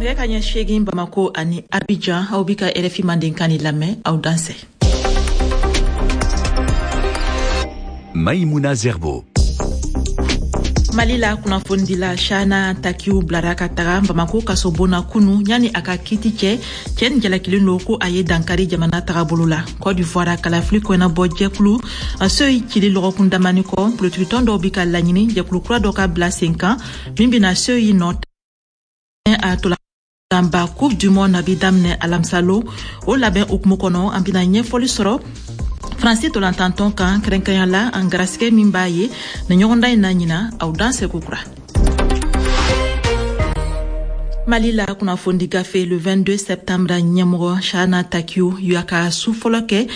Nɛgɛ ka ɲɛ 8 Bamako ani Abidjan, aw bi ka RFI Mandenkan ni lamɛn, aw dansɛ. Maïmouna Zerbo. Mali la kunnafonidila Chahana Takiou bilara ka taga Bamako kasobon na kunu yani a ka kiti cɛ. Cɛ nin jalakilen don ko a ye dankari jamana tagabolo la. Côte d'Ivoire kalafili kɔɲɛnabɔ jɛkulu CEI cili lɔgɔkun damani kɔ, politikitɔn dɔw bi ka laɲini jɛkulu kura dɔ ka bila sen kan min bɛna CEI nɔ a tolanba Coupe du Monde bi daminɛ alamisa lon. O labɛn hukumu kɔnɔ, an bɛna ɲɛfɔli sɔrɔ Faransi tolantantɔn kan, kɛrɛnkɛrɛnya la an garisigɛ min b'a ye nin ɲɔgɔndan in na ɲina. Aw dansɛ kokura. Mali la kunnafonidi gafe Le 22 septembre ɲɛmɔgɔ Chahana Takiou y'a ka su fɔlɔ kɛ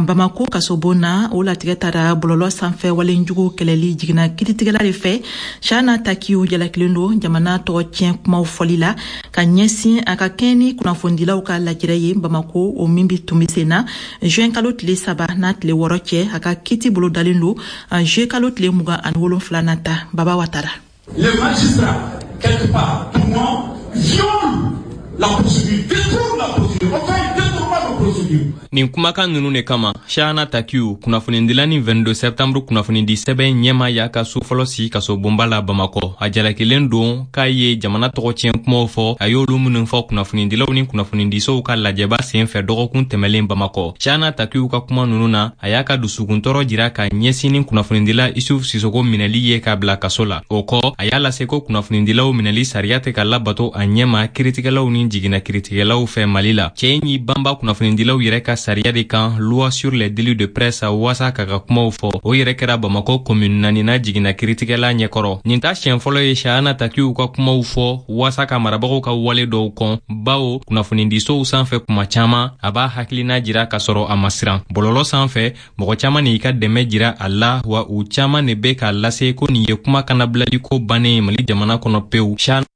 Bamako kasobon na. O latigɛ tara bɔlɔlɔ sanfɛ walenjugu kɛlɛli jiginna kiritigɛla de fɛ. Chahana Takiou jalakilen don jamana tɔgɔ tiɲɛ kumaw fɔli la ka ɲɛsin a ka kɛɲɛ ni kunnafonidilaw ka lajɛrɛ ye Bamako, o min bi tun bɛ sen na juin kalo tile 3 n'a tile 6 cɛ. A ka kiti bolo dalen don juillet kalo tile 27 nata. Baba Watara. Les magistrats, quelque part, pour moi, violent la procédure, détournent la procédure, enfin, ils détournent la procédure. Nin kumakan nunu de kama, Chahana Takiou, kunnafonidila ni 22 septembre kunnafonidi sɛbɛn ɲɛma, y'a ka so fɔlɔ sigi kaso bonba la Bamakɔ. A jalakilen don k'a ye jamana tɔgɔ tiɲɛ kumaw fɔ, a y'olu minnu fɔ kunnafonidilaw ni kunnafonidisow ka lajɛba sen fɛ dɔgɔkun tɛmɛlen Bamakɔ. Chahana Takiou ka kuma nunu na, a y'a ka dusukuntɔrɔ jira ka ɲɛsin ni kunnafonidila Isuf Sisoko minɛli ye k'a bila kaso la. O kɔ, a y'a lase ko kunnafonidilaw minɛli sariya tɛ ka labato a ɲɛma kiritigɛlaw ni jiginna kiritigɛlaw fɛ Mali la. Cɛ in y'i banba kunnafonidilaw yɛrɛ ka sariya de kan, loi sur les délits de presse, waasa k'a ka kumaw fɔ. O yɛrɛ kɛra Bamakɔ commune naanina jiginna kiritigɛla ɲɛkɔrɔ. Nin t'a siɲɛ fɔlɔ ye Chahana Takiou ka kumaw fɔ waasa ka marabagaw ka wale dɔw kɔn, bawo kunnafonidisow sanfɛ, kuma caman a b'a hakilina jira k'a sɔrɔ a ma siran. Bɔlɔlɔ sanfɛ, mɔgɔ caman de y'i ka dɛmɛ jira a la, wa u caman de bɛ k'a lase ko nin ye kuma kanabilali ko bannen ye Mali jamana kɔnɔ pewu. Chahana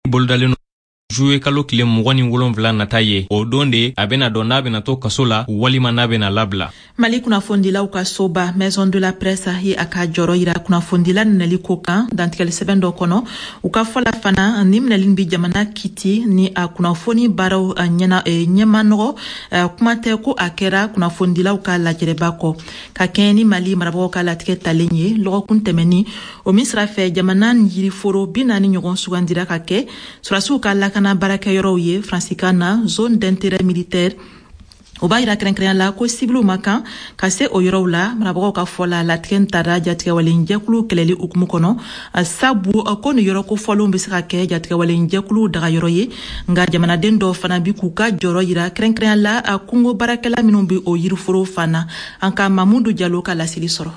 bolodalen juillet kalo tile 27 nata ye. O don de a bena dɔn n'a bena to kaso la walima n'a bena labila. Mali kunnafonidilaw ka soba Maison de la Presse ye a ka jɔrɔ yira kunnafonidila minɛli ko kan dantigɛli sɛbɛn dɔ kɔnɔ. U ka fɔ la fana, ni minɛli bi jamana kiti ni a kunnafoni baaraw ɲɛna ɲɛma nɔgɔ, kuma tɛ ko a kɛra kunnafonidilaw ka lajɛrɛba kɔ. Ka kɛɲɛ ni Mali marabagaw ka latigɛ talen ye lɔgɔkun tɛmɛni, o min sira fɛ jamana yiriforo 40 ɲɔgɔn sugandira ka kɛ sɔrɔdasiw ka lakana baarakɛyɔrɔw ye, faransikan na zone d'intérêt militaire, o b'a yira kɛrɛnkɛrɛnya la ko sibiliw ma kan ka se o yɔrɔw la. Marabagaw ka fɔ la, latigɛ tara jatigɛwalenjɛkulu kɛlɛli hukumu kɔnɔ, sabu ko nin yɔrɔ kofɔlenw bɛ se ka kɛ jatigɛwalenjɛkulu dagayɔrɔ ye. Nka jamanaden dɔw fana bi k'u ka jɔyɔrɔ yira, kɛrɛnkɛrɛnya la kungo baarakɛla minnu bɛ o yiriforo fan na. An ka Mamudu Jalo ka laseli sɔrɔ.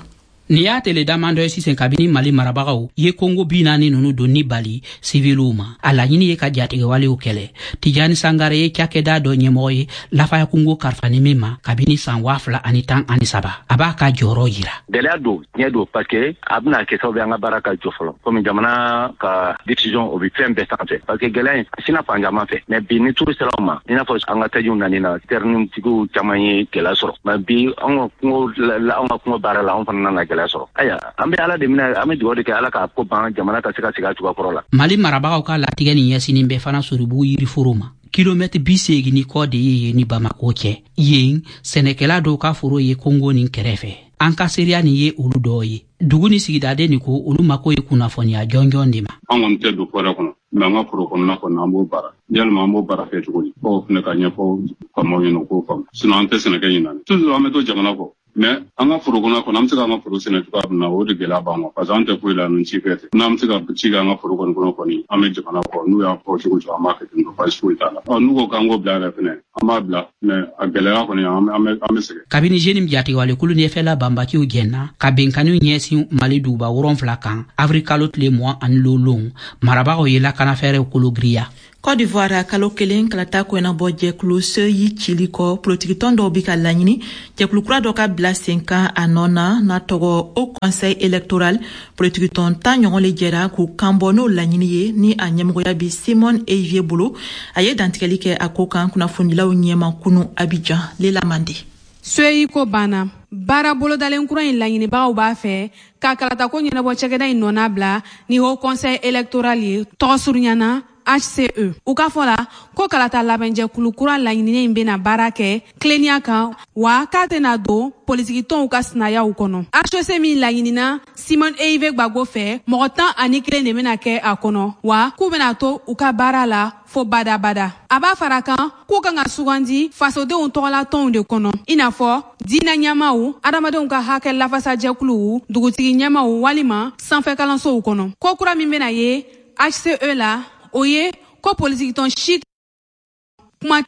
Nin y'a tele damadɔ ye sisan kabini Mali marabagaw ye kongo 40 nunu donni bali siviliw ma. A laɲini ye ka jatigɛwalew kɛlɛ. Tijani Sangare ye cakɛda dɔ ɲɛmɔgɔ ye Lafaya kungo karifani min ma kabini san 2013. A b'a ka jɔyɔrɔ yira. Gɛlɛya don, tiɲɛ don, parce que a bɛna kɛ sababu ye an ka baara ka jɔ fɔlɔ, komi jamana ka décision o bɛ fɛn bɛɛ sanfɛ, parce que gɛlɛya in a sina fan caman fɛ. Mais bi ni turu sera ma, i n'a fɔ an ka tajiw nani na, citernetigiw caman ye gɛlɛya sɔrɔ. Mais bi an ka kungo baara la, an fana nana gɛlɛya sɔrɔ. Ayiwa, an bɛ Ala de minɛ, an bɛ dugawu de kɛ Ala k'a ko ban, jamana ka se ka segin a cogoya kɔrɔ la. Mali marabagaw ka latigɛ nin ɲɛsinin bɛ fana Soribugu yiriforo ma. Kilomɛtiri 80 ni kɔ de ye yen ni Bamako cɛ. Yen sɛnɛkɛla dɔw ka foro ye kongo nin kɛrɛfɛ. An ka seereya nin ye olu dɔw ye. Dugu ni sigidaden nin ko olu mako ye kunnafoniya jɔnjɔn de ma. An kɔni tɛ don fɔrɛ kɔnɔ, mɛ an ka foro kɔnɔna kɔnɔ, an b'o baara. Yalima an b'o baara kɛ cogo di? Fɔw fana ka ɲɛfɔ faamaw ɲɛna, u k'o faamu. Sinon an tɛ sɛnɛ kɛ ɲinan. Toujours an bɛ to jamana kɔ. Mais an ka foro kɔnɔ kɔnɔ, an bɛ se k'an ka foro sɛnɛ cogoya min na, o de gɛlɛya b'an kan, parce que an tɛ foyi la ni ci fɛ tɛ. N'an bɛ se ka ci kɛ an ka foro kɔni kɔnɔ kɔni, an bɛ jamana kɔ. N'u y'a fɔ cogo cogo, an b'a kɛ ten tɔ, baasi foyi t'a la. Ɔ, n'u ko k'an k'o bila yɛrɛ fɛnɛ, an b'a bila, mais a gɛlɛya kɔni, an bɛ sɛgɛn. Kabini JNIM jatigɛwalekulu ni FLA banbatiw jɛnna ka benkaniw ɲɛsin Mali duguba 7 kan avril kalo tile 25, marabagaw ye lakanafɛɛrɛw kologiriya. Côte d'Ivoire, kalo kelen kalata koɲɛnabɔ jɛkulu CEI cili kɔ, politikitɔn dɔw bi ka laɲini jɛkulu kura dɔ ka bila sen kan a nɔ na, n'a tɔgɔ Haut Conseil électoral. Politikitɔn 10 ɲɔgɔn le jɛra k'u kan bɔ n'o laɲini ye, ni a ɲɛmɔgɔya bi Simon Ehivet bolo. A ye dantigɛli kɛ a ko kan kunnafonidilaw ɲɛma kunu Abidjan. Lela Mande. CEI ko banna. Baara bolodalen kura in laɲinibagaw b'a fɛ ka kalatako ɲɛnabɔ cakɛda in nɔna bila ni Haut Conseil électoral ye, tɔgɔ surunyana. HCE. U ka fɔ la ko kalata labɛnjɛkulu kura laɲininen in bɛna baara kɛ tilennenya kan, wa k'a tɛna don politikitɔnw ka sinayaw kɔnɔ. HEC min laɲinina Simone Ehivet Gbagbo fɛ, mɔgɔ 11 de bɛna kɛ a kɔnɔ, wa k'u bɛna to u ka baara la fo badabada. A b'a fara kan k'u kan ka sugandi fasodenw tɔgɔlatɔnw de kɔnɔ, i n'a fɔ diinɛ ɲɛmaw, adamadenw ka hakɛ lafasajɛkuluw, dugutigi ɲɛmaw walima sanfɛ kalansow kɔnɔ. Ko kura min bɛna ye HCE la, o ye ko politikitɔn si kuma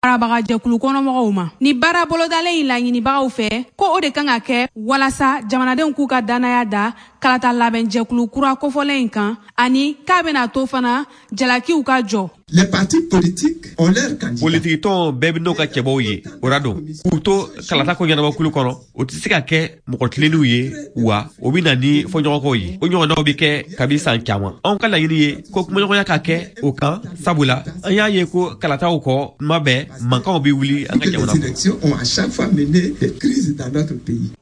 marabagajɛkulu kɔnɔmɔgɔw ma. Ni baara bolodalen in laɲinibagaw fɛ, ko o de kan ka kɛ walasa jamanadenw k'u ka dannaya da kalata labɛnjɛkulu kura kofɔlen in kan, ani k'a bɛna to fana jalakiw ka jɔ. Les partis politiques ont leur candidat. Politikitɔn bɛɛ bɛ n'o ka cɛbɔw ye, o ra don k'u to kalata ko ɲɛnabɔkulu kɔnɔ, o tɛ se ka kɛ mɔgɔ tilennenw ye, wa o bɛ na ni fɔɲɔgɔnkɔw ye. O ɲɔgɔnnaw bɛ kɛ kabi san caman. Anw ka laɲini ye ko kumaɲɔgɔnya ka kɛ o kan, sabula an y'a ye ko kalataw kɔ, tuma bɛɛ mankanw bɛ wuli an ka jamana kɔnɔ.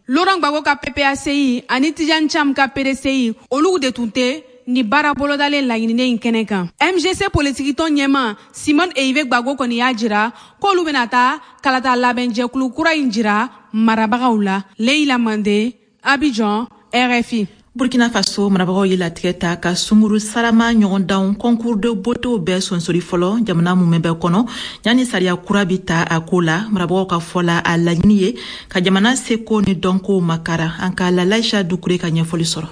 Laurent Gbagbo ka PPACI ani Tidjane Thiam ka PDCI, olu de tun tɛ ni baara bolodalen laɲininen in kɛnɛ kan. MGC politikitɔn ɲɛma Simone Ehivet Gbagbo kɔni y'a jira k'olu bɛna taa kalata labɛnjɛkulu kura in jira marabagaw la. Leila Mande, Abidjan, RFI. Burkina Faso marabagaw ye latigɛ ta ka sunguru sarama ɲɔgɔndanw concours de beauté bɛɛ sonsori fɔlɔ jamana mumɛ bɛɛ kɔnɔ, yanni sariya kura bi ta a ko la. Marabagaw ka fɔ la, a laɲini ye ka jamana seko ni dɔnko makara. An ka Lalaisha Dukure ka ɲɛfɔli sɔrɔ.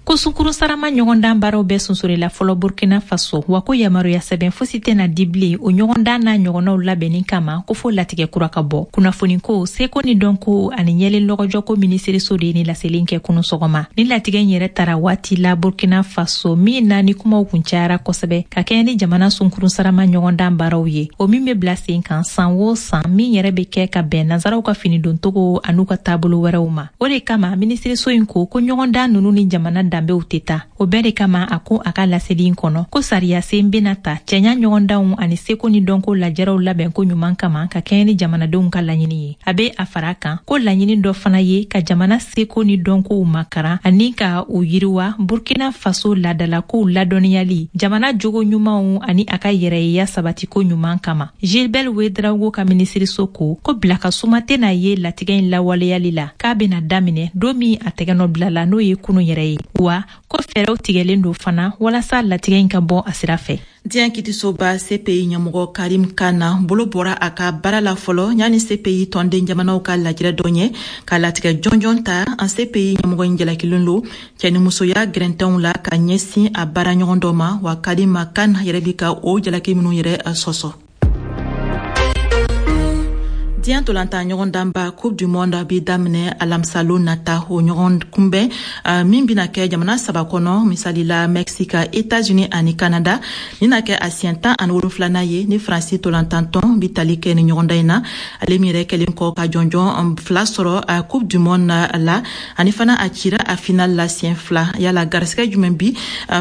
Ko sunkuru sarama ɲɔgɔndan baaraw bɛɛ sonsorila fɔlɔ Burkina Faso, wa ko yamaruya sɛbɛn fosi tɛna di bilen o ɲɔgɔndan n'a ɲɔgɔnnaw labɛnni kama, ko fo latigɛ kura ka bɔ. Kunnafoniko, seko ni dɔnko ani ɲɛlen lɔgɔjɔko minisiriso de ye ni laseli kɛ kunu sɔgɔma. Ni latigɛ in yɛrɛ tara waati la Burkina Faso min na ni kumaw kun cayara kosɛbɛ ka kɛɲɛ ni jamana sunkuru sarama ɲɔgɔndan baaraw ye, o min bɛ bila sen kan san o san, min yɛrɛ bɛ kɛ ka bɛn nansaraw ka finidontogo an'u ka taabolo wɛrɛw ma. O de kama minisiriso in ko ko ɲɔgɔndan ninnu ni jamana danbew tɛ taa. O bɛɛ de kama a ko a ka laseli in kɔnɔ ko sariya sen bɛna ta cɛɲa ɲɔgɔndanw ani seko ni dɔnko lajɛrɛw labɛnko ɲuman kama ka kɛɲɛ ni jamanadenw ka laɲini ye. A bɛ a fara kan ko laɲini dɔ fana ye ka jamana seko ni dɔnkow makaran ani ka u yiriwa, Burkina Faso laadalakow ladɔnniyali, jamana jogo ɲumanw ani a ka yɛrɛyeya sabatiko ɲuman kama. Gilbert Ouedraogo ka minisiriso ko ko bila ka suma tɛna ye latigɛ in lawaleyali la, k'a bɛna daminɛ don min a tɛgɛnɔ bila la, n'o ye kunu yɛrɛ ye, wa ko fɛɛrɛw tigɛlen don fana walasa latigɛ in ka bɔ a sira fɛ. Diɲɛ kitisoba CPI ɲɛmɔgɔ Karim Khan bolo bɔra a ka baara la fɔlɔ yanni CPI tɔnden jamanaw ka lajɛrɛ dɔ ɲɛ ka latigɛ jɔnjɔn ta. An CPI ɲɛmɔgɔ in jalakilen lo cɛnimusoya gɛrɛntɛnw la ka ɲɛsin a baara ɲɔgɔn dɔ ma, wa Karim Khan yɛrɛ bi ka o jalaki minnu yɛrɛ sɔsɔ. Diɲɛ ntolantan ɲɔgɔndanba Coupe du Monde bi daminɛ alamisalo nata. O ɲɔgɔn kunbɛn min bɛna kɛ jamana saba kɔnɔ, misali la Mexique, États-Unis ani Canada, nin na kɛ a siɲɛ 17nan ye ni Faransi ntolantantɔn bi tali kɛ ni ɲɔgɔndan in na. Ale min yɛrɛ kɛlen kɔ ka jɔnjɔn 2 sɔrɔ Coupe du Monde la, ani fana a cira a final la siɲɛ 2. Yala garisɛgɛ jumɛn bi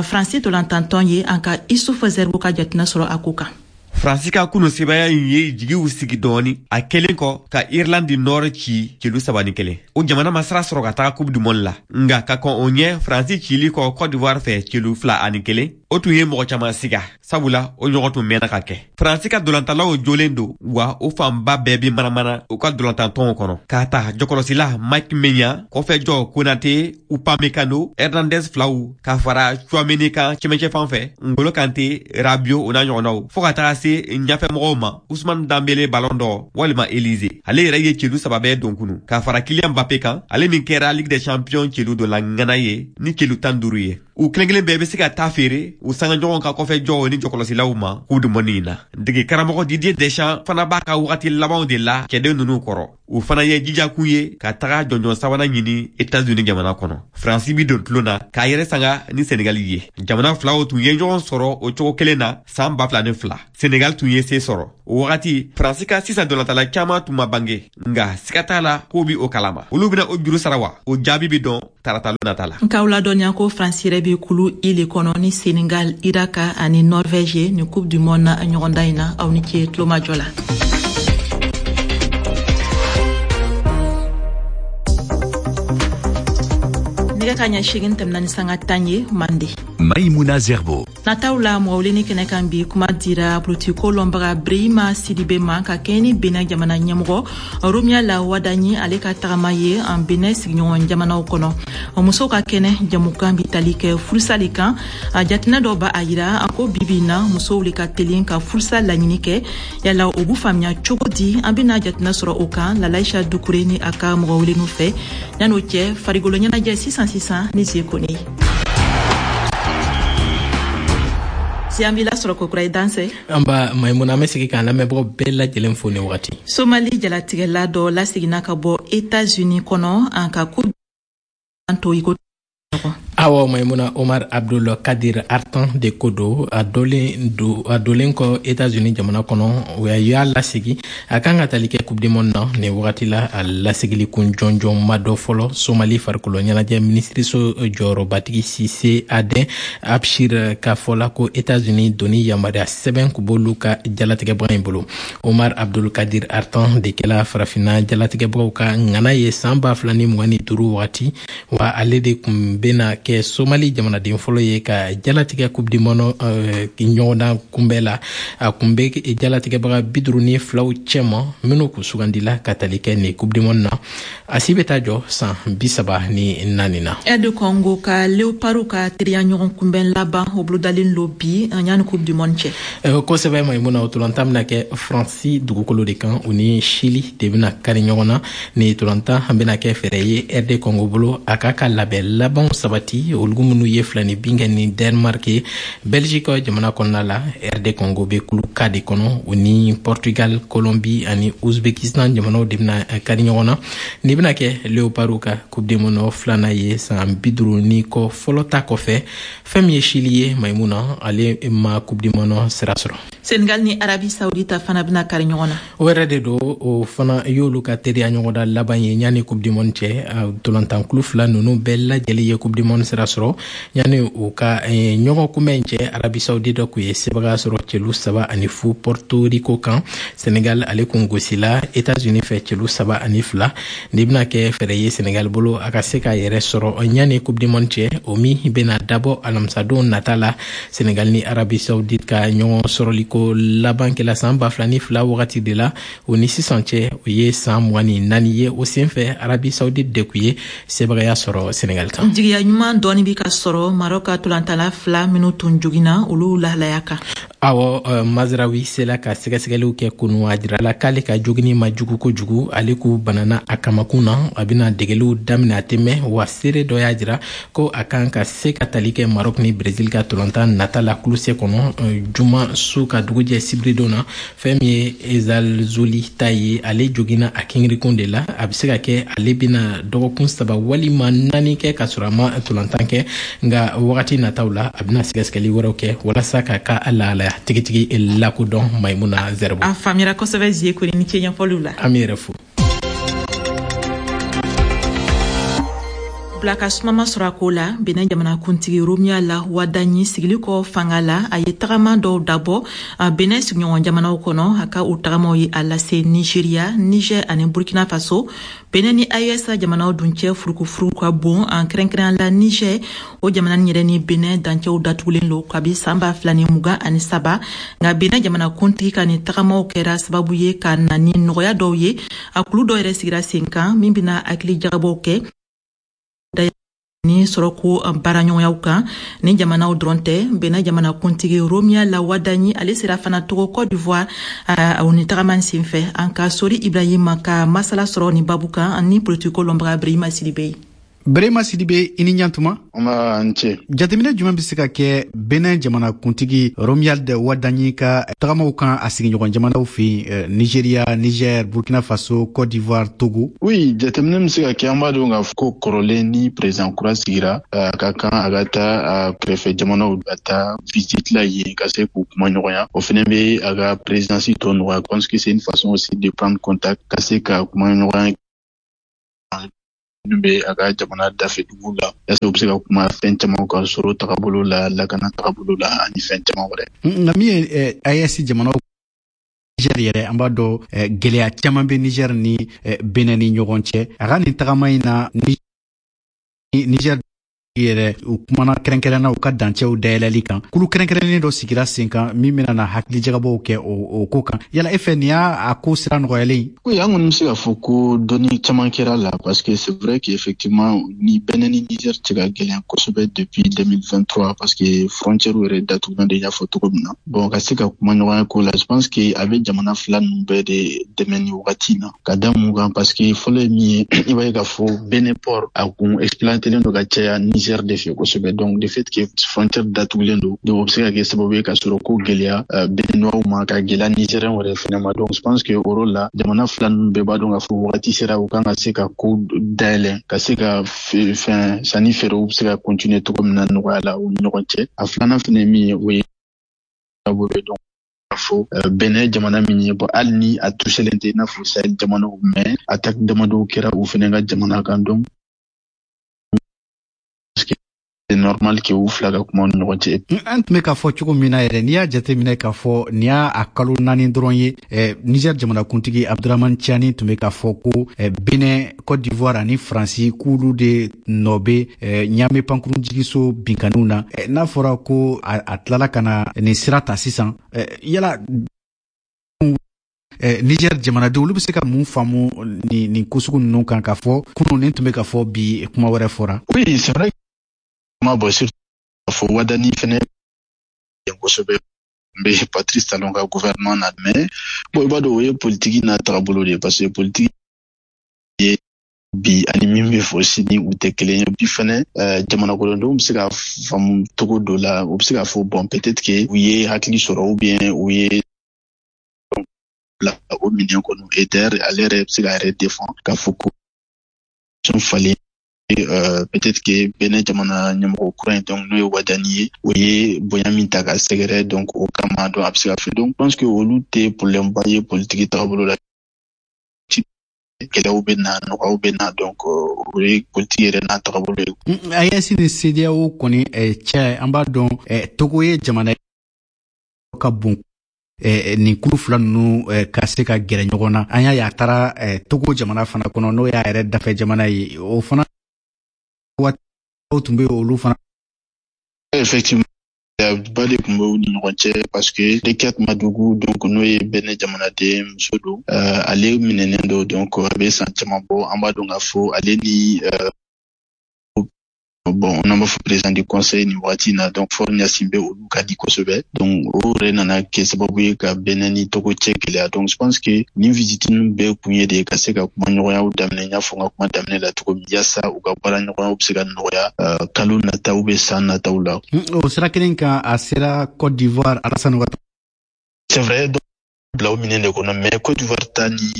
Faransi ntolantantɔn ye? An ka Issouf Zerbo ka jateminɛ sɔrɔ a ko kan. Faransi ka kunu sebaya in ye jigiw sigi dɔɔni a kɛlen kɔ ka Irlande du Nord ci celu 3-1. O jamana ma sira sɔrɔ ka taga Coupe du Monde la, nka ka kɔn o ɲɛ, Faransi cili kɔ Côte d'Ivoire fɛ celu 2-1, o tun ye mɔgɔ caman siga, sabula o ɲɔgɔn tun mɛnna ka kɛ. Faransi ka dolantalaw jolen don, wa o fanba bɛɛ bi manamana u ka dolantantɔnw kɔnɔ, k'a ta jɔkɔlɔsila Mike Maignan, kɔfɛjɔ Konate, Upamecano, Hernandez filaw, ka fara Tchouameni kan cɛmancɛ fan fɛ, N'Golo Kante, Rabiot o n'a ɲɔgɔnnaw, fɔɔ ka taga se ɲafɛmɔgɔw ma Ousmane Dembélé Ballon d'Or walima Élysée. Ale yɛrɛ ye celu 3 bɛɛ don kunu, ka fara Kylian Mbappé kan, ale min kɛra Ligue des Champions celu dɔ la ŋana ye ni celu 15 ye. U kelen kelen bɛɛ bɛ se ka taa feere u sanga ɲɔgɔn ka kɔfɛjɔw ni jɔkɔlɔsilaw ma Coupe du Monde in na. Dege karamɔgɔ Didier Deschamps fana b'a ka wagati labanw de la cɛden ninnu kɔrɔ. U fana ye jijakun ye ka taga jɔnjɔn sabanan ɲini États-Unis jamana kɔnɔ. Faransi bi don tulon na k'a yɛrɛ sanga ni Senegal ye. Jamana filaw tun ye ɲɔgɔn sɔrɔ o cogo kelen na san 2002. Senegal tun ye se sɔrɔ. O wagati Faransi ka sisan dolantala caman tun ma bange, nka siga t'a la k'o bi o kalama. Olu bɛna o juru sara wa? O jaabi bi dɔn tarata nata la. Nk'aw ladɔnniya ko Faransi yɛrɛ bi kulu I le kɔnɔ ni Senegal, Irak ani Norvège ni Coupe du Monde ɲɔgɔndan in na. Aw ni ce tulomajɔ la. Nɛgɛ ka ɲɛ 8:10 ye Mande. Maïmouna Zerbo. Nataw la, mɔgɔ weleni kɛnɛ kan bi, kuma dira politiko lɔnbaga Brehima Sidibe ma ka kɛɲɛ ni Benin jamana ɲɛmɔgɔ Romuald Wadagni, ale ka tagama ye an Benin sigiɲɔgɔn jamanaw kɔnɔ. Musow ka kɛnɛ jamukan bi tali kɛ furusali kan. A jateminɛ dɔ b'a yira ko bibi na, musow le ka telin ka furusa laɲini kɛ. Yala o b'u faamuya cogo di? An bena jateminɛ sɔrɔ o kan Lalaisha Dukure ni a ka mɔgɔ welenu fɛ. Yan'o cɛ, farigolo ɲɛnajɛ sisan sisan ni Zie Kone. Si an b'i lasɔrɔ kokura, i dansɛ. An ba Maimuna, an bɛ segin k'an lamɛnbagaw bɛɛ lajɛlen fo ni wagati. Somali jalatigɛla dɔ laseginna ka bɔ Etats-Unis kɔnɔ, an ka ko to i ko. Awɔ Maimuna, Omar Abdul Kadir Artan de ko do. A dolen do, a dolen kɔ Etats-Unis jamana kɔnɔ, o y'a lasegi. A kan ka tali kɛ Coupe du monde na nin wagati la. A lasegili kun jɔnjɔn ma dɔ fɔlɔ. Somali farikolo ɲɛnajɛ minisiriso jɔyɔrɔbatigi Sise Aden Abshir ka fɔla ko Etats-Unis doni yamaruya sɛbɛn kun b'olu ka jalatigɛbaga in bolo. Omar Abdul Kadir Artan de kɛla Farafinna jalatigɛbagaw ka ŋana ye san 2025 wagati wa. Ale de kun bena kɛ Somali jamanaden fɔlɔ ye ka jalatigɛ Coupe du monde ɲɔgɔndan kunbɛ la. A kun bɛ jalatigɛbaga 52 cɛma minnu kun sugandila ka tali kɛ nin Coupe du monde na. A si bɛ taa jɔ san 34 na. RD Congo ka Léopards ka teriya ɲɔgɔn kunbɛn laban, o bolodalen lo bi yanni Coupe du monde cɛ. Kosɛbɛ Maimuna, o tolantan bɛna kɛ Faransi dugukolo de kan. U ni Chili de bɛna kari ɲɔgɔn na. Ni tolantan bɛna kɛ fɛɛrɛ ye RD Congo bolo a k'a ka labɛn labanw sabati, olu minnu ye filani bin kɛ ni Denmark ye Belgique jamana kɔnɔna la. RD Congo bɛ kulu K de kɔnɔ. U ni Portugal, Colombie ani Uzbekistan jamanaw de bɛna kari ɲɔgɔn na. Nin bɛna kɛ Léopards ka Coupe du monde filanan ye san 50 ni kɔ fɔlɔ ta kɔfɛ. Fɛn min ye Chili ye, Maimuna, ale ma Coupe du monde sira sɔrɔ. Senegal ni Arabie Saoudite fana bɛna kari ɲɔgɔn na. O yɛrɛ de don. O fana y'olu ka teriya ɲɔgɔnda laban ye yanni Coupe du monde cɛ. Tolantankulu fila ninnu bɛɛ lajɛlen ye Coupe du monde sira sɔrɔ yanni u ka ɲɔgɔn kunbɛn cɛ. Arabie Saoudite kun ye sebaga sɔrɔ celu 3-0 Porto Rico kan. Senegal, ale kun gosila Etats-Unis fɛ celu 3-2. Nin bɛna kɛ fɛɛrɛ ye Senegal bolo a ka se k'a yɛrɛ sɔrɔ yanni Coupe du monde cɛ, o min bɛna dabɔ alamisadon nata la. Senegal ni Arabie Saoudite ka ɲɔgɔn sɔrɔliko laban kɛla san 2002 wagati de la. O ni sisan cɛ, o ye san 24 ye. O senfɛ, Arabie Saoudite de kun ye sebagaya sɔrɔ Senegal kan. Jigiya ɲuman dɔɔni bi ka sɔrɔ Maroc ka tolantala fila minnu tun jogina, olu lahalaya kan. Awɔ, Mazrawi sela ka sɛgɛsɛgɛliw kɛ kunu. A jirala k'ale ka jogini ma jugu kojugu. Ale k'u banana a kamakun na. A bɛna degeliw daminɛ, a tɛ mɛn wa. Seere dɔ y'a jira ko a kan ka se ka tali kɛ Maroc ni Brésil ka tolantan nata la kulu C kɔnɔ juma su ka dugujɛ sibiridon na. Fɛn min ye Ezalzuli ta ye, ale jogina a kingrikun de la. A bɛ se ka kɛ ale bɛna dɔgɔkun 3 walima 4 kɛ ka sɔrɔ a ma tolantan kɛ, nka wagati nataw la, a bɛna sɛgɛsɛgɛli wɛrɛw kɛ walasa ka ka lahalaya tigitigi lakodɔn, Maimuna Zɛribo. A faamuyara kosɛbɛ, Zie Kone, ni ce ɲɛfɔliw la. An b'i yɛrɛ fo. Bila ka sumama sɔrɔ a ko la, Benin jamanakuntigi Romuald Wadagni sigili kɔ fanga la, a ye tagama dɔw dabɔ Benin sigiɲɔgɔn jamanaw kɔnɔ. A ka o tagamaw ye a lase Nigeria, Niger ani Burkina Faso. Benin ni AES jamanaw dun cɛ furukufuru ka bon, an kɛrɛnkɛrɛnya la Niger. O jamana nin yɛrɛ ni Benin dancɛw datugulen lo kabi san 2023. Nka Benin jamanakuntigi ka nin tagamaw kɛra sababu ye ka na ni nɔgɔya dɔw ye. A kulu dɔw yɛrɛ sigira sen kan min bɛna hakili jagabɔw kɛ ni sɔrɔko baaraɲɔgɔnyaw kan. Ni jamanaw dɔrɔn tɛ, Benin jamanakuntigi Romuald Wadagni, ale sera fana Togo, Côte d'Ivoire o ni tagama sen fɛ. An ka Sori Ibrahima ka masala sɔrɔ ni babu kan ni politiko lɔnbaga Brehima Sidibe ye. Brehima Sidibe, i ni ɲantuma. An ce. Jateminɛ jumɛn bɛ se ka kɛ Benin jamanakuntigi Romuald Wadagni ka tagamaw kan a sigiɲɔgɔn jamanaw fɛ yen, Nigeria, Niger, Burkina Faso, Côte d'Ivoire, Togo? Oui, jateminɛ bɛ se ka kɛ. An b'a dɔn k'a fɔ ko kɔrɔlen, ni président kura sigira, a ka kan a ka taa a kɛrɛfɛ jamanaw, ka taa visite la yen ka se k'u kuma ɲɔgɔnya. O fɛnɛ bɛ a ka présidence tɔ nɔgɔya, parce que c'est une façon aussi de prendre contact, ka se ka kuma ɲɔgɔnya minnu bɛ a ka jamana dafɛ dugu la, yasa u bɛ se ka kuma fɛn caman kan, sɔrɔ tagabolo la, lakana tagabolo la, ani fɛn caman wɛrɛ. Nka min ye AES jamanaw, Niger yɛrɛ, an b'a dɔn gɛlɛya caman bɛ Niger ni Benin ni ɲɔgɔn cɛ. A ka nin tagama in na, Niger Yɛrɛ, u kumana kɛrɛnkɛrɛnna u ka dancɛw dayɛlɛli kan. Kulu kɛrɛnkɛrɛnnen dɔ sigira sen kan min bɛna na hakilijagabɔw kɛ o ko kan. Yala e fɛ, nin y'a a ko sira nɔgɔyalen? Oui, an kɔni bɛ se k'a fɔ ko dɔnni caman kɛra la, parce que c'est vrai qu'effectivement ni Benin ni Niger cɛ ka gɛlɛn kosɛbɛ depuis 2023, parce que frontière yɛrɛ datugulan de y'a fɔ cogo min na. Bon, ka se ka kuma ɲɔgɔnya ko la, je pense que a bɛ jamana fila ninnu bɛɛ de dɛmɛ ni wagati in na. Ka da mun kan? Parce que fɔlɔ ye min ye, i b'a ye k'a fɔ Benin port a kun exploitelen don ka caya Niger de fɛ kosɛbɛ. Donc de fait que frontière datugulen don, donc o bɛ se ka kɛ sababu ye ka sɔrɔ ko gɛlɛya Béninois ma, ka gɛlɛya Nigérien yɛrɛ fɛnɛ ma. Donc je pense que o rôle la, jamana fila ninnu bɛɛ b'a dɔn k'a fɔ wagati sera u kan ka se ka ko dayɛlɛ, ka se ka fɛn sanni feerew bɛ se ka continuer cogo min na nɔgɔya la u ni ɲɔgɔn cɛ. A filanan fɛnɛ ye min ye, o ye bolo donc fɔ Benin jamana min ye, bon, hali ni a touchelen tɛ i n'a fɔ Sahel jamanaw, mais attaque damadɔw kɛra u fɛnɛ ka jamana kan. Donc c'est normal que u fila ka kuma ni ɲɔgɔn cɛ. An tun bɛ k'a fɔ cogo min na yɛrɛ, n'i y'a jateminɛ k'a fɔ nin y'a a kalo 4 dɔrɔn ye, Niger jamanakuntigi Abdurahmane Tiani tun bɛ k'a fɔ ko Benin, Côte d'Ivoire ani Faransi, k'olu de nɔ bɛ Ɲame pankurunjigiso binkanniw na. N'a fɔra ko a tilala ka na nin sira ta sisan, yala Niger jamanadenw, olu bɛ se ka mun faamu nin ko sugu ninnu kan, k'a fɔ kunun nin tun bɛ ka fɔ, bi kuma wɛrɛ fɔra? Oui, c'est vrai, ma bɔ surtout fɔ Wadani fɛnɛ kosɛbɛ n bɛ Patrice Talon ka gouvernement na. Mais bon, i b'a dɔn, o ye politiki n'a tagabolo de ye, parce que politiki ye bi ani min bɛ fɔ sini, u tɛ kelen ye. Bi fɛnɛ, jamana kɔnɔdenw bɛ se ka faamu cogo dɔ la, u bɛ se k'a fɔ bon, peut-être que u ye hakili sɔrɔ ou bien u ye bila o minɛn kɔnɔ. Et d'ailleurs, ale yɛrɛ bɛ se k'a yɛrɛ défend k'a fɔ ko falen, peut-être que Benin jamana ɲɛmɔgɔ kura in, donc n'o ye Wadani ye, o ye bonya min ta ka sɛgɛrɛ, donc o kama, donc a bɛ se ka fɛ. Donc je pense que olu tɛ problème ba ye politiki tagabolo la. Gɛlɛyaw bɛ na, nɔgɔyaw bɛ na, donc o ye politiki yɛrɛ n'a tagabolo ye. AES ni CEDEAO kɔni cɛ, an b'a dɔn Togo ye jamana ka bon nin kulu fila ninnu ka se ka gɛrɛ ɲɔgɔn na. An y'a ye a taara Togo jamana fana kɔnɔ, n'o y'a yɛrɛ dafɛ jamana ye. O fana waati tun bɛ olu fana. Effectivement, ba de tun bɛ u ni ɲɔgɔn cɛ, parce que Rekiat Madougou, donc n'o ye Benin jamanaden muso don, ale minɛnen don, donc a bɛ san caman bɔ. An b'a dɔn k'a fɔ ale ni, bon, n'an b'a fɔ président du conseil nin wagati in na, donc Faure Gnassingbé, olu ka di kosɛbɛ. Donc o yɛrɛ nana kɛ sababu ye ka Benin ni Togo cɛ gɛlɛya. Donc je pense que nin visite ninnu bɛɛ kun ye de ye ka se ka kumaɲɔgɔnyaw daminɛ, n y'a fɔ n ka kuma daminɛ la cogo min, yaasa u ka baara ɲɔgɔnyaw bɛ se ka nɔgɔya kalo nataw bɛ san nataw la. O sira kelen kan, a sera Côte d'Ivoire, Alassane Ouattara. C'est vrai, bila o minɛn de kɔnɔ, mais Côte d'Ivoire ta ni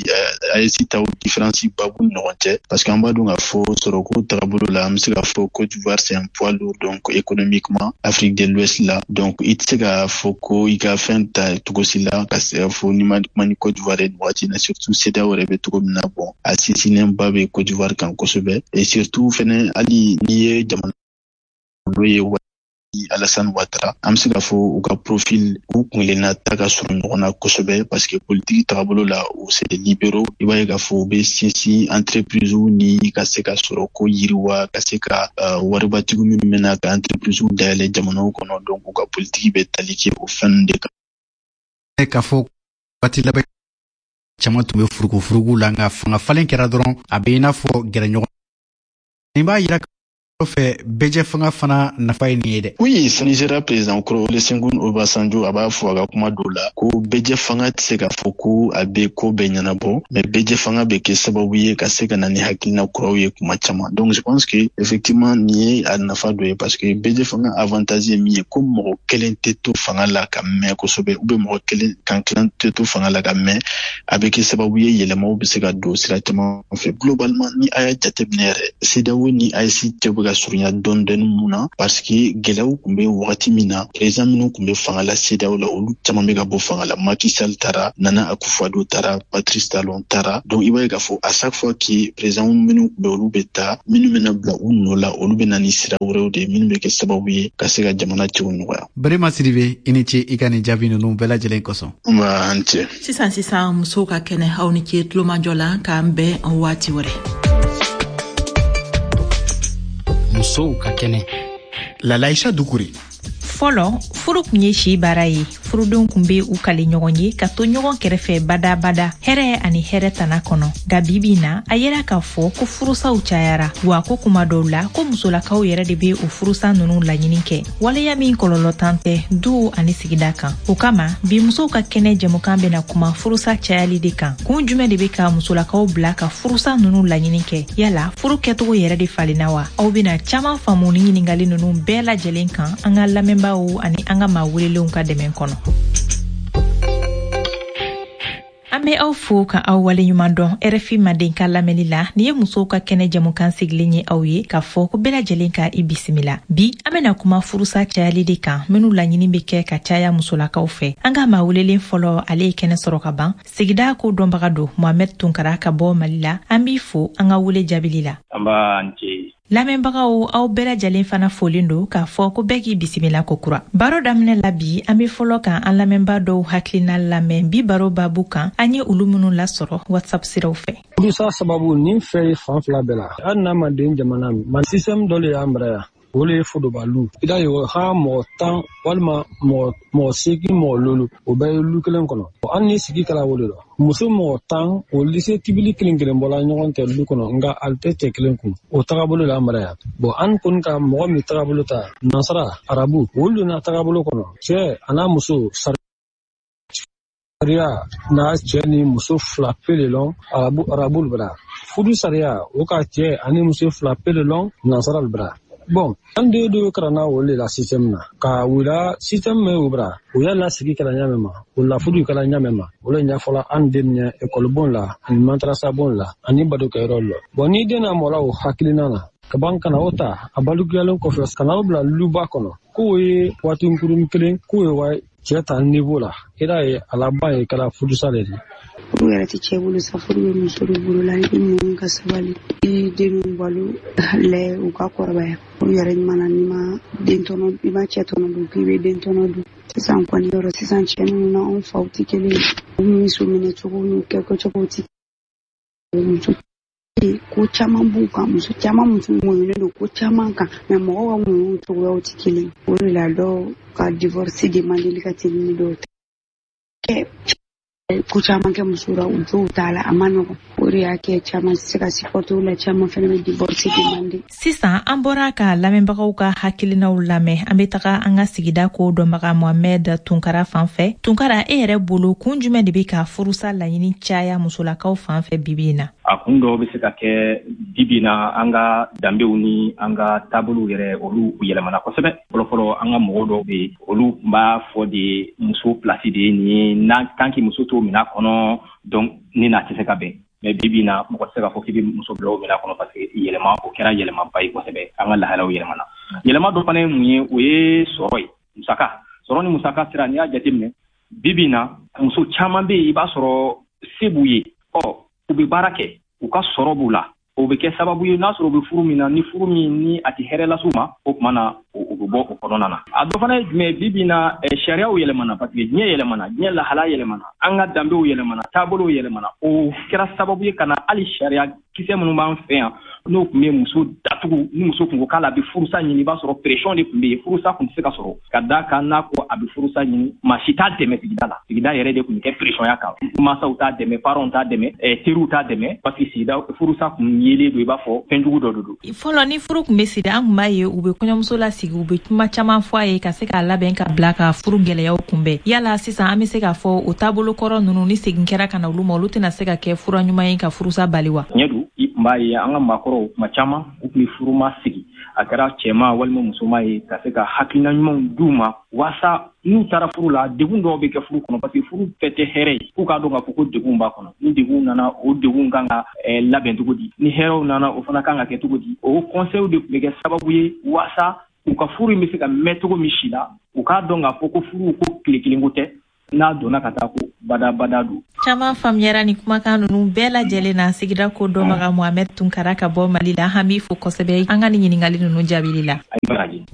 AES taw, différence ba b'u ni ɲɔgɔn cɛ, parce que an b'a dɔn k'a fɔ sɔrɔko tagabolo la, an bɛ se k'a fɔ Côte d'Ivoire, c'est un poids lourd, donc économiquement Afrique de l'Ouest la. Donc i tɛ se k'a fɔ ko i ka fɛn ta cogo si la ka se k'a fɔ n'i ma kuma ni Côte d'Ivoire ye nin waati in na, surtout CEDEAO yɛrɛ bɛ cogo min na. Bon, a sinsinnen ba bɛ Côte d'Ivoire kan kosɛbɛ. Et surtout fɛnɛ, hali n'i ye jamana n'o ye Alassane Ouattara, an bɛ se k'a fɔ u ka profil, u kunkelenna ta ka surun ɲɔgɔn na kosɛbɛ, parce que politiki tagabolo la, u c'est des libéraux. I b'a ye k'a fɔ u bɛ sinsin entreprise ni ka se ka sɔrɔ ko yiriwa, ka se ka waribatigiw minnu bɛna ka entreprise dayɛlɛ jamanaw kɔnɔ. Donc u ka politiki bɛ tali kɛ o fɛn de kan. K'a fɔ waati laban caman tun bɛ furugufurugu la, nka fanga falen kɛra dɔrɔn, a bɛ i n'a fɔ gɛrɛɲɔgɔn. Nin b'a yira kɔfɛ, bɛjɛ fanga fana nafa ye nin ye dɛ. Oui, Nigeria président kɔrɔ Olusegun Obasanjo, a b'a fɔ a ka kuma dɔw la ko bɛjɛ fanga tɛ se k'a fɔ ko a bɛ ko bɛɛ ɲɛnabɔ, mais bɛjɛ fanga bɛ kɛ sababu ye ka se ka na ni hakilina kuraw ye kuma caman. Donc je pense que effectivement nin ye a nafa dɔ ye, parce que bɛjɛ fanga avantage ye min ye, ko mɔgɔ kelen tɛ to fanga la ka mɛn kosɛbɛ, ou bien mɔgɔ kelen kan kilan tɛ to fanga la ka mɛn. A bɛ kɛ sababu ye yɛlɛmaw bɛ se ka don sira caman fɛ. Globalement, ni a y'a jateminɛ yɛrɛ, CEDEAO ni AES cɛ bɛ ka surunya dɔɔni dɔɔni. Mun na? Parce que gɛlɛyaw tun bɛ wagati min na, président minnu tun bɛ fanga la CEDEAO la, olu caman bɛ ka bɔ fanga la. Macky Sall taara, Nana Akufo-Addo taara, Patrice Talon taara. Donc i b'a ye k'a fɔ à chaque fois que président minnu tun bɛ, olu bɛ taa, minnu bɛna bila u nɔ la, olu bɛ na ni sira wɛrɛw de ye minnu bɛ kɛ sababu ye ka se ka jamana cɛw nɔgɔya. Berema Sidibe, i ni ce i ka nin jaabi ninnu bɛɛ lajɛlen kosɔn. Nba, an cɛ. Sisan sisan, musow ka kɛnɛ. Aw ni ce tulomajɔ la, k'an bɛn waati wɛrɛ. Musow ka kɛnɛ. Lalaïcha Doucouré. Fɔlɔ, furu kun ye si baara ye. Furudenw kun be u kali ɲɔgɔn ye ka to ɲɔgɔn kɛrɛfɛ badabada, hɛrɛ ani hɛrɛ tana kɔnɔ. Nka bibi na, a yera k'a fɔ ko furusaw cayara, wa ko kuma dɔw la ko musolakaw yɛrɛ de be o furusa nunu laɲini kɛ, waleya min kɔlɔlɔtan tɛ duw ani sigida kan. O kama, bi musow ka kɛnɛ jɛmukan bena kuma furusa cayali de kan. Kun jumɛn de be ka musolakaw bila ka furusa nunu laɲini kɛ? Yala furu kɛcogo yɛrɛ de falenna wa? Aw bena caaman faamu ni ɲiningali nunu bɛɛ lajɛlen kan an ka lamɛnbaaw ani an ka maa welelenw ka dɛmɛ kɔnɔ. An bɛ aw fo ka aw waleɲuman dɔn RFI Mandenkan lamɛnni la. Nin ye musow ka kɛnɛ jɛmukan sigilen ye aw ye k'a fɔ ko bɛɛ lajɛlen ka i bisimila. Bi an bɛna kuma furusa cayali de kan, minnu laɲini bɛ kɛ ka caya musolakaw fɛ. An ka maa welelen fɔlɔ, ale ye kɛnɛ sɔrɔ ka ban. Sigida ko dɔnbaga don, Mohamed Tunkara ka bɔ Mali la. An b'i fo an ka wele jaabili la. An b'a an ce. Lamɛnbagaw, aw bɛɛ lajɛlen fana folen don k'a fɔ ko bɛɛ k'i bisimila ko kura. Baro daminɛ la bi, an be fɔlɔ ka an lamɛnbaa dɔw hakilina lamɛn bi baro babu kan, an ye olu minnu lasɔrɔ WhatsApp siraw fɛ. Furusa sababu nin fɛ ye fan fila bɛɛ la. Hali n'a ma den jamana ma, système dɔ le y'an bara yan. O le ye fodobalu. I da ye ha mɔgɔ 10 walima mɔgɔ 8, mɔgɔ 5, o bɛɛ ye lu kelen kɔnɔ. Hali ni sigi kɛra o de la. Muso mɔgɔ 10, o lise tibili kelen kelen bɔla ɲɔgɔn tɛ lu kɔnɔ, nka ale tɛ cɛ kelen kun. O tagabolo la an bara yan. Bon, an kɔni ka mɔgɔ min tagabolo ta, nansara, arabu, olu donna tagabolo kɔnɔ. Cɛ a n'a muso sariya n'a cɛ ni muso fila pe le lɔn, arabu bara. Furu sariya, o ka cɛ ani muso fila pe le lɔn, nansara bara. Bon, an den dɔw karanna o le la système na. Ka wula système min o bara, o y'a lasigi kɛra ɲa min ma, o la furu kɛra ɲa min ma, o le ɲɛfɔla an den ɲɛ école bon la, ani madrasa bon la, ani badokɛyɔrɔ la. Bon, ni den na mɔla o hakilina na, ka ban kana o ta, a balikuyalen kɔfɛ, ka na o bila luba kɔnɔ, k'o ye waati kunkuruni kelen, k'o ye wa cɛ ta niveau la, i y'a ye a laban ye kɛra furusa de ye. Furu yɛrɛ tɛ cɛ bolo sa, furu bɛ muso de bolo la. I bɛ muɲu ka sabali, i denw balo lɛ u ka kɔrɔbaya. Furu yɛrɛ ɲuman na, n'i ma den tɔnɔ, i ma cɛ tɔnɔ dun, k'i bɛ den tɔnɔ dun. Sisan kɔni yɔrɔ sisan cɛ ninnu na anw faw tɛ kelen ye. U muso minɛ cogo n'u kɛcogo tɛ kelen ye. Muso ko caman b'u kan, muso caman muso muɲunen don ko caman kan, mais mɔgɔw ka muɲu cogoyaw tɛ kelen ye. O de la dɔw ka divorce demandeli ka teli ni dɔw ta ye. Ko caman kɛ muso la, u jow t'a la, a ma nɔgɔn. O de y'a kɛ caman tɛ se ka supporter o la, caman fana bɛ divorce demander. Sisan an bɔra ka lamɛnbagaw ka hakilinaw lamɛn, an bɛ taga an ka sigida ko dɔnbaga Mohamed Tunkara fan fɛ. Tunkara, e yɛrɛ bolo kun jumɛn de bɛ ka furusa laɲini caya musolakaw fan fɛ bibi in na? A kun dɔw bɛ se ka kɛ bibi na, an ka danbew ni an ka taabolow yɛrɛ, olu yɛlɛmana kosɛbɛ. Fɔlɔfɔlɔ, an ka mɔgɔw dɔw bɛ yen, olu tun b'a fɔ de muso place de ye nin ye, n'a tant que muso t'o minɛn kɔnɔ, donc ni n'a tɛ se ka bɛn. Mais bibi na, mɔgɔ tɛ se k'a fɔ k'i bɛ muso bila o minɛn kɔnɔ, parce que yɛlɛma, o kɛra yɛlɛmaba ye kosɛbɛ. An ka lahalaw yɛlɛmana. Yɛlɛma dɔ fana ye mun ye? O ye sɔrɔ ye, musaka. Sɔrɔ ni musaka sira, n'i y'a jateminɛ bibi na, muso caman bɛ yen, i b'a sɔrɔ se b'u ye, ɔ u bɛ baara kɛ, u ka sɔrɔ b'u la, o bɛ kɛ sababu ye n'a sɔrɔ u bɛ furu min na, ni furu min ni a tɛ hɛrɛ las'u ma, o tuma na u bɛ bɔ o kɔnɔna na. A dɔ fana ye jumɛn ye? Bi bi na, sariyaw yɛlɛmana, parce que diɲɛ yɛlɛmana, diɲɛ lahala yɛlɛmana, an ka danbew yɛlɛmana, taabolow yɛlɛmana. O kɛra sababu ye ka na hali sariya kisɛ minnu b'an fɛ yan, n'o tun bɛ muso datugu, ni muso tun ko k'ale bɛ furusa ɲini, i b'a sɔrɔ pression de tun bɛ yen, furusa tun tɛ se ka sɔrɔ. Ka d'a kan n'a ko a bɛ furusa ɲini, maa si t'a dɛmɛ sigida la. Sigida yɛrɛ de tun bɛ kɛ pression ya kan. Mansaw t'a dɛmɛ, parents t'a dɛmɛ, teriw t'a dɛmɛ, parce que sigida furusa tun yelen don i b'a fɔ fɛnjugu dɔ de don. Fɔlɔ, ni furu tun bɛ siri, an tun b'a ye u bɛ kɔɲɔmuso lasigi, u bɛ kuma caman fɔ a ye ka se k'a labɛn ka bila ka furu gɛlɛyaw kunbɛn. Yala sisan an bɛ se k'a fɔ o taabolo kɔrɔ ninnu, ni segin kɛra ka na olu ma, olu tɛna se ka kɛ fura ɲuman ye ka furusa bali wa? Tiɲɛ don, i tun b'a ye an ka maakɔrɔw kuma caman u tun bɛ furuma sigi, a kɛra cɛman walima musoman ye, ka se ka hakilina ɲumanw d'u ma waasa n'u taara furu la, degun dɔw bɛ kɛ furu kɔnɔ, parce que furu bɛɛ tɛ hɛrɛ ye. F'u k'a dɔn k'a fɔ ko degun b'a kɔnɔ, ni degun nana, o degun kan ka labɛn cogo di, ni hɛrɛw nana, o fana kan ka kɛ cogo di. O conseil de tun bɛ kɛ sababu ye waasa u ka furu in bɛ se ka mɛn cogo min si la, u k'a dɔn k'a fɔ ko furu ko tile kelen ko tɛ, n'a donna ka taa ko Badabada don. Caman faamuyara ni kumakan ninnu bɛɛ lajɛlen na. Sigida ko dɔnbaga Mohamɛd Tunkara ka bɔ Mali la, an b'i fo kosɛbɛ an ka nin ɲininkali ninnu jaabili la.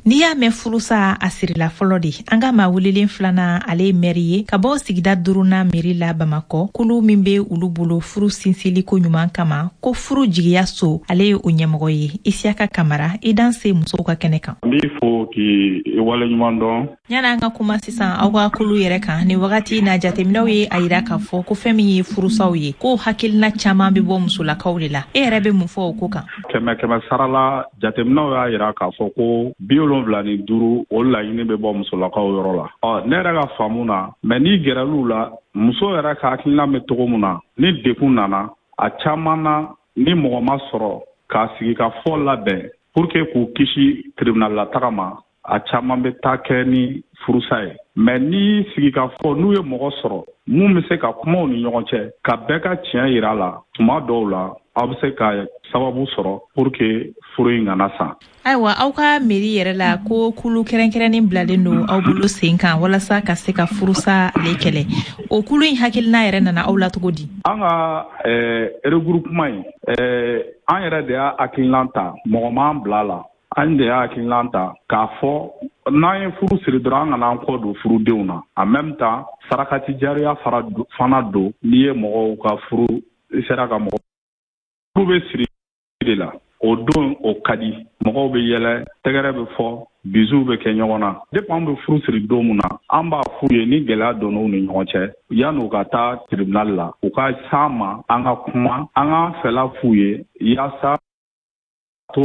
N'i y'a mɛn furusa, a sirila fɔlɔ de. An ka maa welelen filanan, ale ye mɛri ye ka bɔ sigida duurunan meri la Bamakɔ. Kulu min be olu bolo furu sinsili ko ɲuman kama, ko furu jigiya so, ale ye o ɲɛmɔgɔ ye. Isiyaka Kamara, i danse musow ka kɛnɛ kan. N b'i fo k'i waleɲuman dɔn. Yani an ka kuma sisan aw ka kulu yɛrɛ kan, nin wagati na jateminɛw ye a yira k'a fɔ ko fɛn min ye furusaw ye, ko hakilina caman bɛ bɔ musolakaw de la. E yɛrɛ bɛ mun fɔ o ko kan? Kɛmɛ kɛmɛ sara la, jateminɛw y'a yira k'a fɔ ko 75, o laɲini bɛ bɔ musolakaw yɔrɔ la. Ɔ, ne yɛrɛ ka faamu na, mɛ n'i gɛrɛl'u la, muso yɛrɛ ka hakilina bɛ cogo min na, ni dekun nana a caman na, ni mɔgɔ ma sɔrɔ k'a sigi ka fɔ labɛn pour que k'u kisi tribunal la taga ma, a caman bɛ taa kɛ ni furusa ye. Mɛ ni sigikafɔ, n'u ye mɔgɔ sɔrɔ mun bɛ se ka kumaw ni ɲɔgɔn cɛ, ka bɛɛ ka tiɲɛ yira la, tuma dɔw la aw bɛ se ka sababu sɔrɔ pour que furu in kana sa. Ayiwa, aw ka mairie yɛrɛ la, ko kulu kɛrɛnkɛrɛnnen bilalen don aw bolo sen kan walasa ka se ka furusa ale kɛlɛ. O kulu in hakilina yɛrɛ nana aw la cogo di? An ka regroupement in, an yɛrɛ de y'a hakilinan ta, mɔgɔ m'an bila la. An de y'a hakilinan ta k'a fɔ n'an ye furu siri dɔrɔn, an kana an kɔ don furudenw na. En même temps, sarakati jariya fara fana don. N'i ye mɔgɔw ka furu, i sera ka mɔgɔ furu bɛ siri de la, o don o ka di, mɔgɔw bɛ yɛlɛ, tɛgɛrɛ bɛ fɔ, bizuw bɛ kɛ ɲɔgɔn na. Depuis an bɛ furu siri don min na, an b'a f'u ye, ni gɛlɛya donn'u ni ɲɔgɔn cɛ, yan'u ka taa tribunal la, u ka s'an ma, an ka kuma, an k'an fɛla f'u ye yaasa to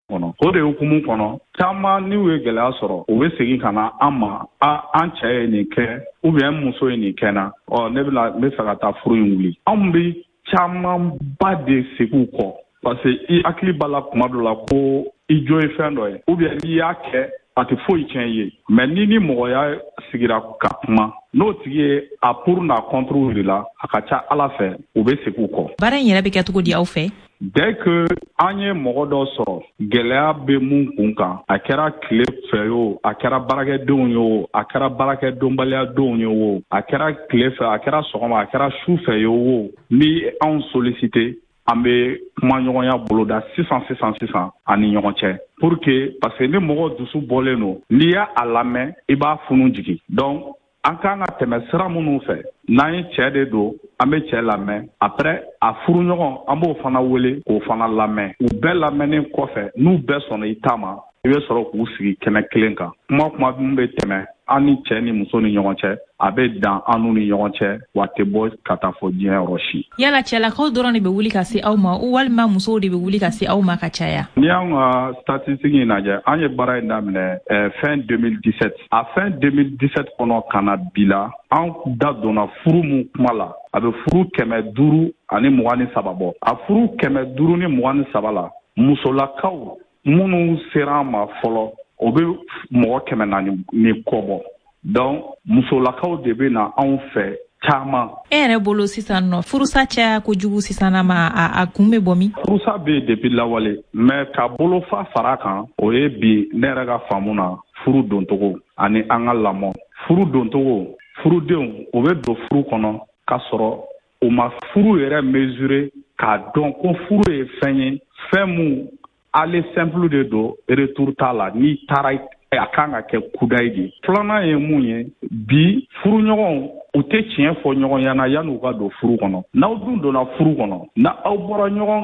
kɔnɔ. O de hukumu kɔnɔ, caman n'u ye gɛlɛya sɔrɔ, u bɛ segin ka na an ma: a an cɛ ye nin kɛ, ou bien muso ye nin kɛ na, ɔ ne bɛna n bɛ fɛ ka taa furu in wuli. Anw bɛ camanba de segin u kɔ, parce que i hakili b'a la kuma dɔ la ko i jo ye fɛn dɔ ye, ou bien n'i y'a kɛ, a tɛ foyi tiɲɛ i ye. Mais ni mɔgɔya sigira ka kuma, n'o tigi ye a pour n'a contre yir'i la, a ka ca Ala fɛ, u bɛ segin u kɔ. Baara in yɛrɛ bɛ kɛ cogo di aw fɛ? Dès que an ye mɔgɔ dɔ sɔrɔ, gɛlɛya bɛ mun kun kan, a kɛra tile fɛ o, a kɛra baarakɛdenw ye o, a kɛra baarakɛdonbaliyadenw ye o, a kɛra tile fɛ, a kɛra sɔgɔma, a kɛra su fɛ ye o, ni anw sollicité, an bɛ kumaɲɔgɔnya boloda sisan sisan sisan an ni ɲɔgɔn cɛ, pour que, parce que ni mɔgɔ dusu bɔlen don, n'i y'a a lamɛn, i b'a funu jigin. Donc an kan ka tɛmɛ sira minnu fɛ, n'an ye cɛɛ de don, an bɛ cɛɛ lamɛn. Après, a furuɲɔgɔn, an b'o fana wele k'o fana lamɛn. U bɛɛ lamɛnnen kɔfɛ, n'u bɛɛ sɔnna i ta ma, i bɛ sɔrɔ k'u sigi kɛnɛ kelen kan. Kuma kuma min bɛ tɛmɛ an ni cɛɛ ni muso ni ɲɔgɔn cɛ, a bɛ dan an n'u ni ɲɔgɔn cɛ, wa tɛ bɔ ka taa fɔ diɲɛ yɔrɔ si. Yala cɛlakaw dɔrɔn de bɛ wuli ka se aw ma, walima musow de bɛ wuli ka se aw ma ka caya? N'i y'anw ka statistique in lajɛ, an ye baara in daminɛ fin 2017. A fin 2017 kɔnɔ ka na bi la, an da donna furu mun kuma la, a bɛ furu 523 bɔ. A furu 523 la, musolakaw minnu sera an ma fɔlɔ, o bɛ mɔgɔ 400 ni kɔ bɔ. Donc musolakaw de bɛ na anw fɛ caman. E yɛrɛ bolo sisan nɔ, furusa caya kojugu sisan ma, a kun bɛ bɔ min? Furusa bɛ yen depuis lawale, mais ka bolofa fara kan, o ye bi ne yɛrɛ ka faamu na, furu doncogo ani an ka lamɔ. Furu doncogo, furudenw o bɛ don furu kɔnɔ k'a sɔrɔ u ma furu yɛrɛ mesurer k'a dɔn ko furu ye fɛn ye, fɛn mun aller simple de don, retour t'a la, n'i taara a kan ka kɛ kudayi de. Filanan ye mun ye? Bi furuɲɔgɔnw, u tɛ tiɲɛ fɔ ɲɔgɔn ɲɛna yan'u ka don furu kɔnɔ. N'aw dun donna furu kɔnɔ, na aw bɔra ɲɔgɔn